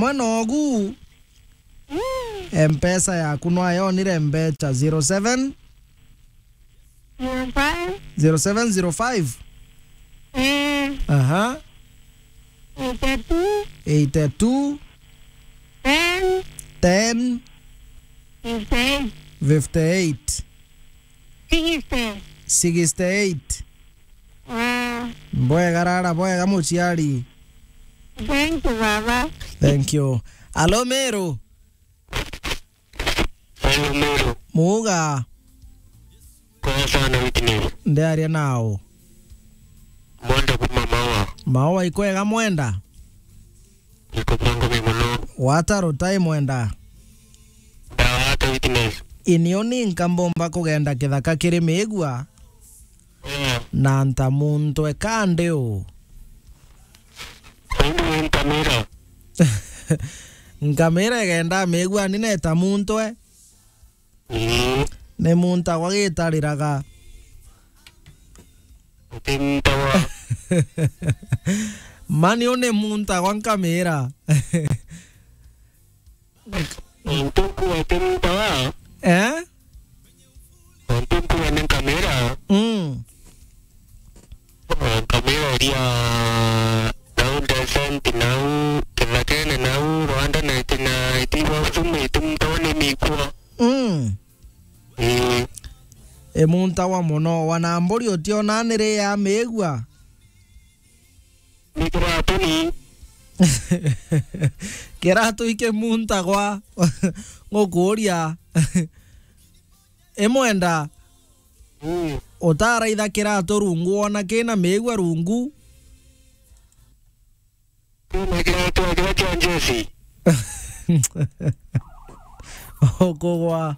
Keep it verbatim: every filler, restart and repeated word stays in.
Mwana ogu. Mm. Mpesa yaku nwayonire mbecha zero seven? Zero five. Zero seven zero five? Eh. Aha. Eighty-two. Eighty-two. Ten. Ten. Fifty-eight. Fifty-eight. Sixty. Sixty-eight. Ah. Bwega rara, bwega muciari. Thank you, baba. Thank you. Alo, Meru. Hello, Meru. Muga. Kwega sana, Witness. Ndiaria nao. Mwenda kuma Maua. Maua ikwega mwenda? Iko bwangu mi muno. Wata rutai mwenda. Ndawata, Witness. Inio ni nkambomba kugenda kithaka kiri migua. Eh. Na nta muntu eka ndi u. Indi wi nkamira. Nkamira igenda migua ni neta muntu e. Ii. Ni muntu agwa gitariraga. Uti muntu agwa. Mani u ni muntu agwa nkamira. Ontu nkuuga ti muntu agwa. Eh? Ontu nkuuga ni nkamira. Mm. Nkamira iria nau descent, nau kithakene, nau rwanda na iti na iti bwa usumu, iti muntu agwa ni mikua. Mm. Ii. E muntu agwa muno, wana mburi utiona ni ri ya migua. Ni kiratu ni. Kiratu iki muntu agwa. Ngukuuria. Imwenda. Mm. Utaraitha kiratu rungu wona kina migua rungu. Kina kiratu kiria kia njeci. Ukugwa.